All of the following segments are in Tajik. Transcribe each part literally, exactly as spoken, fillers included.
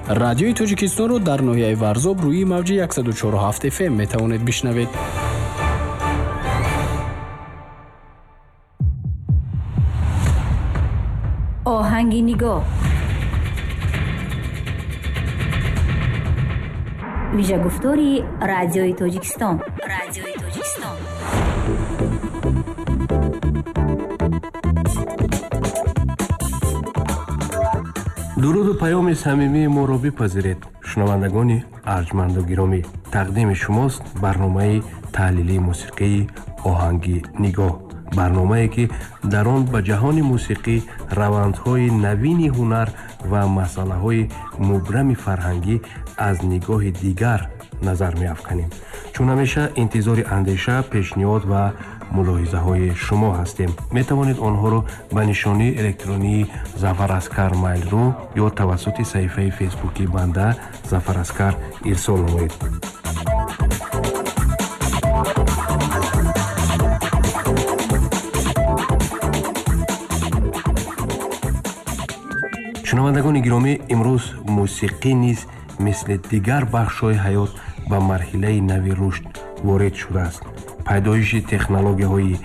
Радиои Тоҷикистонро дар ноҳияи Варзоб рӯи мавҷи яксаду чору ҳафт эф эм метавонед бишнавед. Оҳанги нигоҳ. Вижагуфтори Радиои Тоҷикистон. Радиои Тоҷикистон. Дуруду паёми самимии моро бипазиред, шунавандагони арҷманду гиромӣ. Тақдими шумост барномаи таҳлилии мусиқии Оҳанги нигоҳ. Барномае ки дар он ба ҷаҳони мусиқӣ, равандҳои навини ҳунар ва масъалаҳои мубрами фарҳангӣ аз нигоҳи дигар назар меафканем. Чун ҳамеша интизори андеша, пешниҳод ва мулоҳизаҳои шумо ҳастем. Метавонед онҳоро ба нишонии электронии Зафар Аскар Mail.ru ё тавассути саҳифаи фейсбуки банда Зафар Аскар ирсол намоед. Шунавандагони гиромӣ, имрӯз мусиқӣ низ мисли дигар бахшҳои ҳаёт ба марҳилаи нави рушд ворид шудааст. Пайдоиши технологияҳои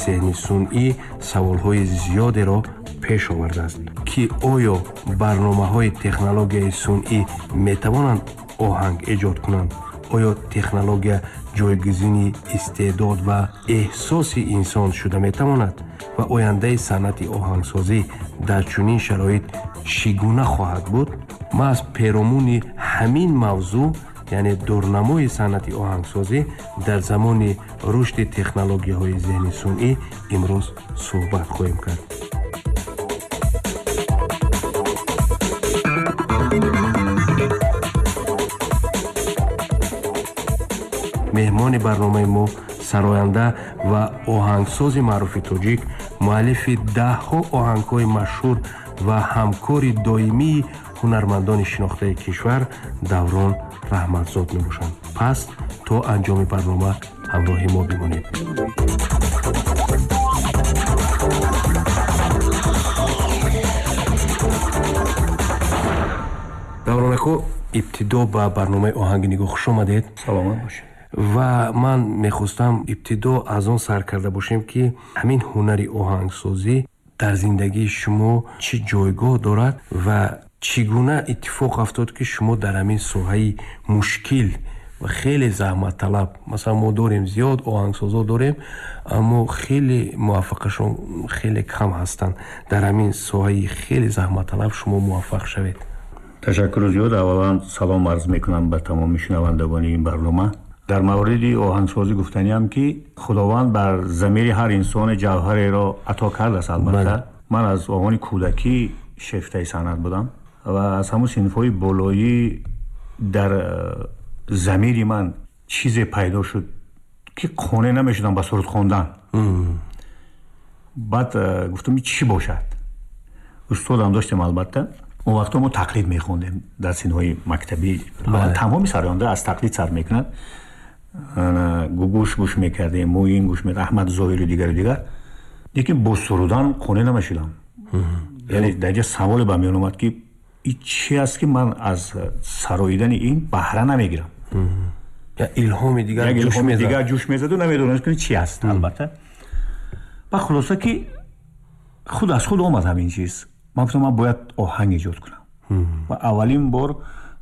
зеҳни сунъӣ саволҳои зиёдеро пеш овардааст, ки оё барномаҳои технологияи сунъӣ метавонанд оҳанг эҷод кунанд? Оё технология ҷойгузини истеъдод ва эҳсоси инсон шуда метавонад? Ва ояндаи санъати оҳангсозӣ дар чунин шароит чӣ гуна хоҳад буд? Маҳз перомуни ҳамин мавзӯъ, яъне дурнамои санъати оҳангсозӣ дар замони рушди технологияҳои зеҳни сунъӣ имрӯз суҳбат хоҳем кард. Меҳмони барномаи мо сароянда ва оҳангсози маъруфи тоҷик, муаллифи даҳҳо оҳангҳои машҳур ва ҳамкори доимии ҳунармандони шинохтаи кишвар Даврон Раҳматзод мебошанд. Пас то анҷоми барнома ҳамроҳи мо бимонед. Даврон ако, ибтидо ба барномаи Оҳанги нигоҳ хуш омадед. Саломат бошед. Ва ман мехостам ибтидо аз он сар карда бошем, ки ҳамин ҳунари оҳангсозӣ дар зиндагии шумо чӣ ҷойгоҳ дорад ва чӣ гуна иттифоқ афтод, ки шумо дар ҳамин соҳаи мушкил ва хеле заҳматталаб, масалан мо дорем зиёд оҳангсозо дорем, аммо хеле муваффақашон хеле кам ҳастанд, дар ҳамин соҳаи хеле заҳматталаб шумо муваффақ шавед. Ташаккур зиёд. Аввалан салом арз мекунам ба тамоми шунавандагони ин барнома. Дар мавриди оҳангсозӣ гуфтаниам, ки Худованд бар замири ҳар инсоне ҷавҳареро ато кардааст. Албатта ман аз овони кӯдакӣ шефтаи санъат будам ва аз ҳамон синфҳои болоӣ дар замири ман чизе пайдо шуд, ки қонеъ намешудам ба суруд хондан. Баъд гуфтам, ин чӣ бошад? Устодам доштем, албатта. Он вақто мо тақлид мехондем дар синҳои мактабӣ. Тамоми сароянда аз тақлид сар мекунад. Гугуш гӯш мекардем, Муин гӯш мекардем, Аҳмад Зоҳиру дигару дигар. Лекин бо сурудан қонеъ намешудам. Яъне дар ҷа саволе ба миён омад, ки ин чи аст, ки ман аз сароидани ин баҳра намегирам? Илҳоми дигар ҷӯш мезад. Дигар ҷӯш мезаду намедонистам, ки чи аст, албатта. Ба хулоса, ки худ аз худ омад ҳамин чиз. Ман гуфтам, ман бояд оҳанг эҷод кунам. Ва аввалин бор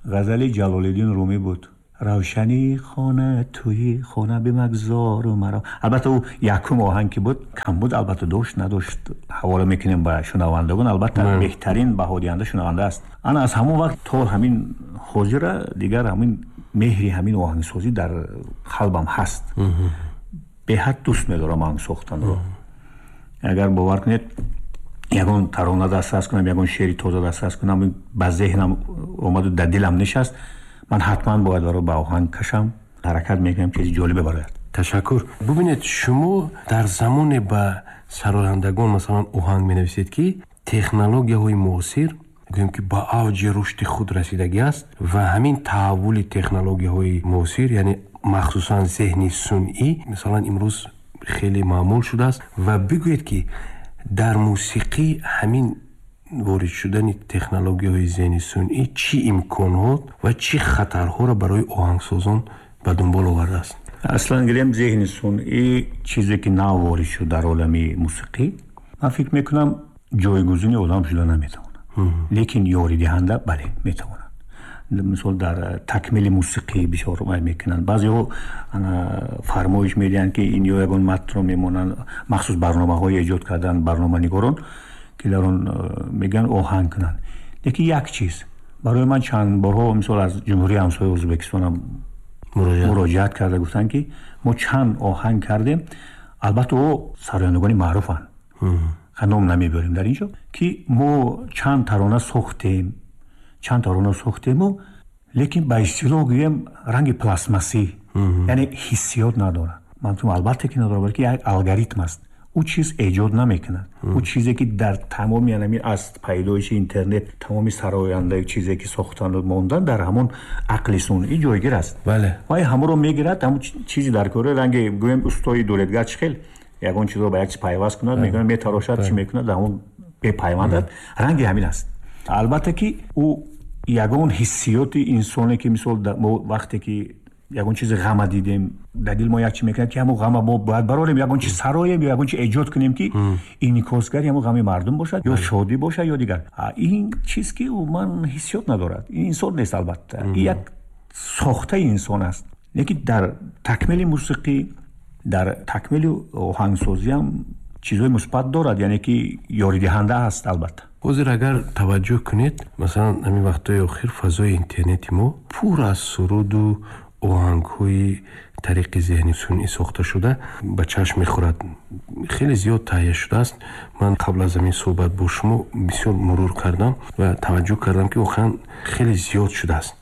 ғазали Ҷалолиддин Румӣ буд. Равшани хона туи хона бимагзору маро. Албатта ӯ якум оҳанг ки буд, кам буд, албатта дошт надошт, ҳавола мекунем ба шунавандагон. Албатта беҳтарин баҳодиҳанда шунаванда аст. Ана аз ҳамон вақт то ҳамин ҳозира дигар ҳамин меҳри ҳамин оҳангсозӣ дар қалбам ҳаст. Беҳад дӯст медорам оҳанг сохтанро. Агар бовар кунед, ягон тарона дастрас кунам, ягон шеъри тоза дастрас кунам, ба зеҳнам омаду дар дилам нишаст, ман ҳатман бояд баро ба оҳанг кашам, ҳаракат мекунам чизи ҷолибе барояд. Ташаккур. Бубинед, шумо дар замоне ба сарояндагон масалан оҳанг менависед, ки технологияҳои муосир гӯем ки ба авҷи рушди худ расидагӣ аст ва ҳамин таҳаввули технологияҳои муосир, яъне махсусан зеҳни сунъӣ, масалан имрӯз хеле маъмул шудааст. Ва бигӯед, ки дар мусиқӣ ҳамин ворид шудани технологияҳои зеҳни сунъӣ чӣ имконҳо ва чӣ хатарҳоро барои оҳангсозон ба дунбол овардааст? Аслан гирем, зеҳни сунъӣ чизе ки нав ворид шуд дар олами мусиқӣ, ман фикр мекунам, ҷойгузини одам шуда наметавонад, лекин ёридиҳанда, бале, метавонад. Мисол, дар такмили мусиқӣ бисёр вай мекунанд. Баъзеҳо фармоиш медиҳанд, ки ин ё ягон матнро мемонанд, махсус барномаҳое эҷод карданд барноманигорон, ки дар он мегӯянд оҳанг кунанд. Лекин як чиз барои ман чанд борҳо, мисол, аз ҷумҳурии ҳамсояи Ӯзбекистонам муроҷиат карда гуфтанд, ки мо чанд оҳанг кардем. Албатта, ӯ сарояндагони маъруфанд, ном намебарем дар ин ҷо, ки мо чанд тарона сохтем, чанд тарона сохтему, лекин ба истилоҳ гӯем, ранги пластмассӣ, яъне ҳиссиёт надорад. Ман гуфтам, албатта ки надорад, балки як алгоритм аст, ӯ чиз эҷод намекунад. Ӯ чизе ки дар тамоми янами аз пайдоиши интернет тамоми сароянда чизе ки сохтану мондан, дар ҳамон ақли сунъӣ ҷойгир аст. Бале вай ҳамонро мегирад, ҳамон чизи дар кори, ранги гӯем, устои дуредгар чӣ хел ягон чизро ба як чиз пайваст кунад, мегӯяд, метарошад, чӣ мекунад, дар ҳамон бепайвандад, ранги ҳамин аст. Албатта ки ӯ ягон ҳиссиёти инсоне ки, мисол, мо вақте ки ягон чизи ғама дидем, дар дил мо як чи мекунад, ки ҳамон ғама мо бояд барорем, ягон чиз сароем ё ягон чи эҷод кунем, ки инъикосгари ҳамон ғами мардум бошад ё шодӣ бошад ё дигар. Ин чиз ки умуман ҳиссиёт надорад, ин инсон нест, албатта, ин як сохтаи инсон аст. Лекин дар такмили мусиқӣ, дар такмили оҳангсозиам чизҳои мусбат дорад, яъне ки ёридиҳанда аст, албатта. Ҳозир агар таваҷҷӯҳ кунед, масалан, ҳамин вақтҳои охир фазои интернети мо пур аз суруду оҳангҳои тариқи зеҳни сунъӣ сохта шуда ба чашм мехӯрад. Хеле зиёд таҳия шудааст. Ман қабл аз ҳамин суҳбат бо шумо бисёр мурур кардам ва таваҷҷӯҳ кардам, ки воқеан хеле зиёд шудааст.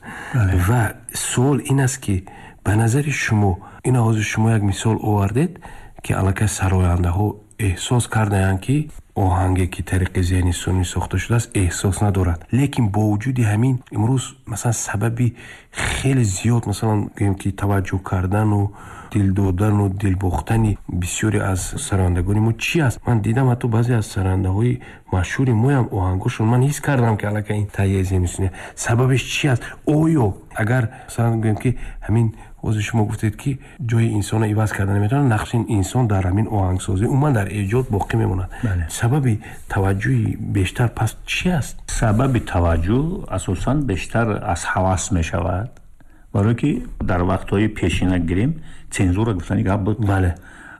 Ва суол ин аст, ки ба назари шумо, ина ҳозир шумо як мисол овардед, ки аллакай сарояндаҳо эҳсос кардаанд, ки оҳанге ки тариқи зеҳни сунъӣ сохта шудааст, эҳсос надорад. Лекин бо вуҷуди ҳамин имрӯз, масалан, сабаби хеле зиёд, масалан, гӯем ки таваҷҷӯҳ кардану дил додану дилбохтани бисёре аз сарояндагони мо чӣ аст? Ман дидам, ҳатто баъзе аз сарояндаҳои машҳури моям оҳангошон, ман ҳис кардам, ки аллакай ин таҳияи зеҳни сунъӣ. Сабабеш чӣ аст? Оё агар, масалан, гӯем ки ҳамин ҳозир шумо гуфтед, ки ҷои инсонро иваз карда наметавонад, нақши инсон дар ҳамин оҳангсозӣ, умуман дар эҷод боқӣ мемонад, сабаби таваҷҷӯҳи бештар пас чӣ аст? Сабаби таваҷҷӯҳ асосан бештар аз ҳавас мешавад, барое ки дар вақтҳои пешина гирем, цензура гуфтани гап буд. Бале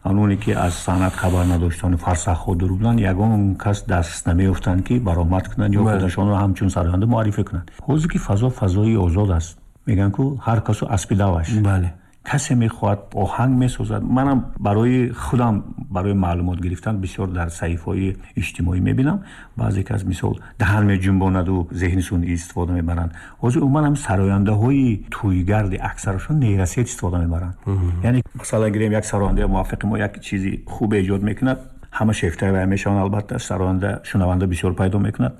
ононе ки аз санъат хабар надоштанд, фарсахҳо дур буданд, ягон кас даст намеёфтанд, ки баромад кунанд ё худашонро ҳамчун сароянда муаррифӣ кунанд. Ҳозир ки фазо фазои озод аст, мегӯянд ку, ҳар касу аспи даваш. Бале касе мехоҳад, оҳанг месозад. Манам барои худам, барои маълумот гирифтан бисёр дар саҳифаҳои иҷтимоӣ мебинам, баъзе кас, мисол, даҳан меҷунбонаду зеҳни сунъӣ истифода мебаранд. Ҳозир умуман ҳам сарояндаҳои тӯйгарди аксарашон нейросеть истифода мебаранд. Яъне, масалан, гирем, як сарояндаи муваффақи мо як чизи хуб эҷод мекунад, ҳама шефтаи вай мешаванд, албатта, сароянда шунаванда бисёр пайдо мекунад.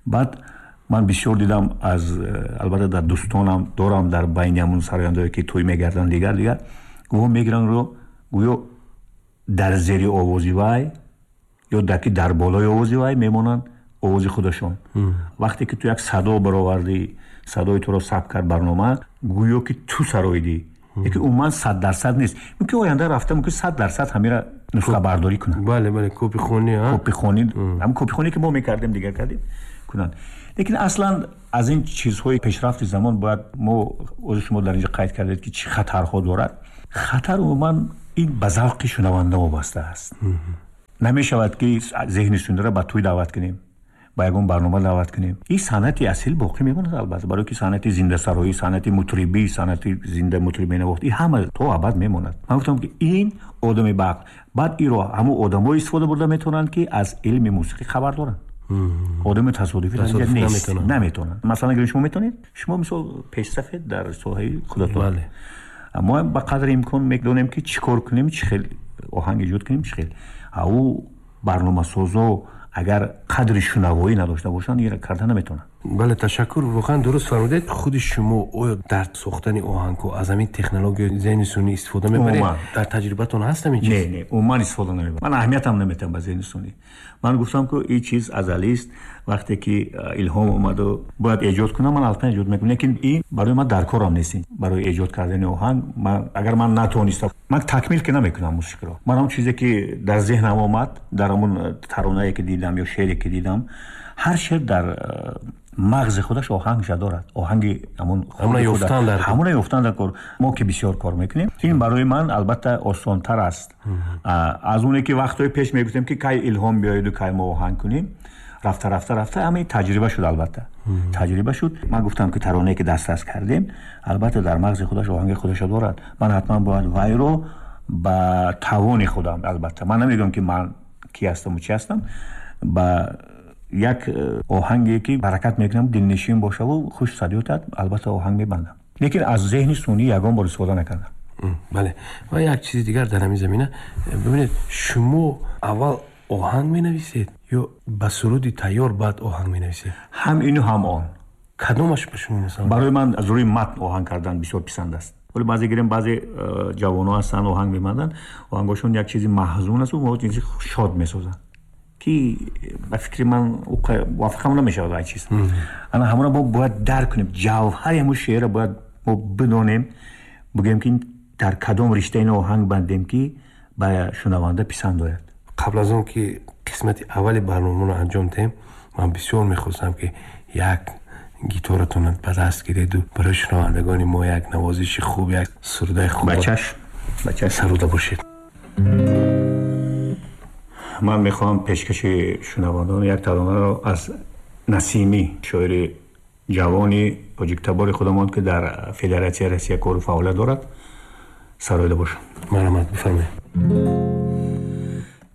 Баъд ман бисёр дидам, аз, албатта, дар дӯстонам дорам, дар байни ҳамун сарояндаое ки тӯй мегарданд, дигар дигар гӯё мегиранд ро, гӯё дар зери овози вай ё ки дар болои овози вай мемонанд овози худашон. Вақте ки ту як садо баровардӣ, садои туро сабт кард барнома, гӯё ки ту сароидӣ, лекин умуман сад дарсад нест. Мумкин оянда рафта мумкин сад дарсад ҳамира нусхабардорӣ кунанд. Бале, бале, копихонӣ. Копихонӣ, ҳамин копихонӣ ки мо мекардем, дигар кардем, кунанд. Лекин аслан аз ин чизҳои пешрафти замон бояд мо, ҳозир шумо дар инҷо қайд кардед, ки чӣ хатарҳо дорад. Хатар умуман ин ба завқи шунаванда вобаста аст. Намешавад, ки зеҳни сунъиро ба тӯй даъват кунем, ба ягон барнома даъват кунем. Ин санъати асил боқӣ мемонад, албатта, барое ки санъати зиндасароӣ, санъати мутрибӣ, санъати зинда мутриб менавохт, ин ҳама то абад мемонад. Ман гуфтам, ки ин одами ба ақл, баъд иро ҳамун одамое истифода бурда метавонанд, ки аз илми мусиқӣ хабар доранд. Одами тасодуфӣ нест, наметавонанд. Масалан, агар шумо метавонед, шумо, мисол, пешсафед дар соҳаи худатон, мо ба қадри имкон медонем, ки чӣ кор кунем, чӣ хел оҳанг эҷод кунем, чӣ хел. Ӯ барномасозо агар қадри шунавоӣ надошта бошанд, инро карда наметавонанд. Бале, ташаккур, воқеан дуруст фармудед. Худи шумо оё дар сохтани оҳангҳо аз ҳамин технологияи зеҳни сунъӣ истифода мебаред? Дар таҷрибатон ҳаст ҳамин чиз? Не, не, умуман истифода намебарам. Ман аҳамиятам наметиҳам ба зеҳни сунъӣ. Ман гуфтам, ки ин чиз азалист. Вақте ки илҳом омаду бояд эҷод кунам, ман албатта эҷод мекунам, лекин ин барои ман дар корам нест. Барои эҷод кардани оҳанг ман агар ман натонистам, ман такмил ки намекунам мусиқиро. Ман он чизе ки дар зеҳнам омад, дар ҳамон таронае ки дидам ё шеъре ки дидам, ҳар шеър дар мағзи худаш оҳангша дорад, оҳанги ҳамон ҳамона ёфтан дар кор. Мо ки бисёр кор мекунем, ин барои ман албатта осонтар аст аз оне ки вақтҳои пеш мегуфтем, ки кай илҳом биёеду кай мо оҳанг кунем. Рафта рафта рафта ҳамаи таҷриба шуд, албатта таҷриба шуд. Ман гуфтам, ки таронае ки дастрас кардем, албатта дар мағзи худаш оҳанги худаша дорад. Ман ҳатман бояд вайро ба тавони худам, албатта ман намегӯям, ки ман ки ҳастаму чӣ ҳастам, ба як оҳанге ки баракат мекунам, дилнишин бошаву хуш садиётад, албатта оҳанг мебандам, лекин аз зеҳни сунъӣ ягон бор истифода накардам. Бале, ва як чизи дигар дар ҳамин замина. Бибинед, шумо аввал оҳанг менависед ё ба суруди тайёр баъд оҳанг менависед? Ҳам ину, ҳам он. Кадомаш ба шумо масалан? Барои ман аз рӯи матн оҳанг кардан бисёр писанд аст. Вале баъзе гирем, баъзе э, ҷавонҳо ҳастанд, оҳанг мебанданд, оҳангошон як чизи маҳзун аст, мо чизи шод месозанд, ки ба фикри ман мувофиқам намешавад ай чиз. Ана ҳамона мо бояд дарк кунем, ҷавҳари ҳамун шеърро бояд мо бидонем, бигӯем, ки дар кадом ришта ин оҳанг бандем, ки ба шунаванда писанд ояд. Қабл аз он ки қисмати аввали барномаро анҷом диҳем, ман бисёр мехостам, ки як гитаратонро ба даст гиреду барои шунавандагони мо як навозиши хуб, як сурудаи хуб ба чашм, ба чашм саруда бошед. Ман мехоҳам пешкаши шунавандагон як таронаро аз Насимӣ, шоири ҷавони тоҷиктабори худамон, ки дар Федератсияи Россия кору фаъолият дорад, сароида бошам. Марҳамат, бифармоед.